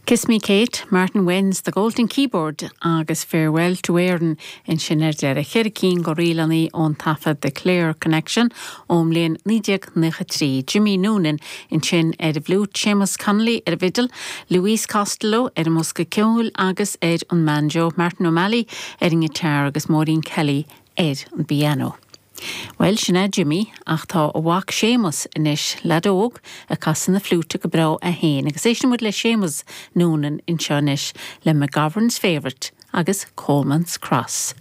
Kiss Me Kate, Martin Wynne's The Golden Keyboard agus Farewell to Erin ansin ar deireadh. Cheithre cinn de ríleanna ón taifead The Clare Connection ón mbliain 1993. Jimmy Noonan ansin ar an bhfliúit, Séamus Connolly ar an bhfidil, Louise Costello ar an mbosca ceoil agus ar an mbanjo, Martin O'Malley ar an ngiotár agus Maureen Kelly ar an bpianó. Bhuel, sin é Jimmy, ach tá a mhac Séamus anois, leaid óg, ag casadh na fliúite go breá é féin, agus éisteann muid le Séamus Noonan anseo anois le McGovern's Favourite agus Coleman's Cross.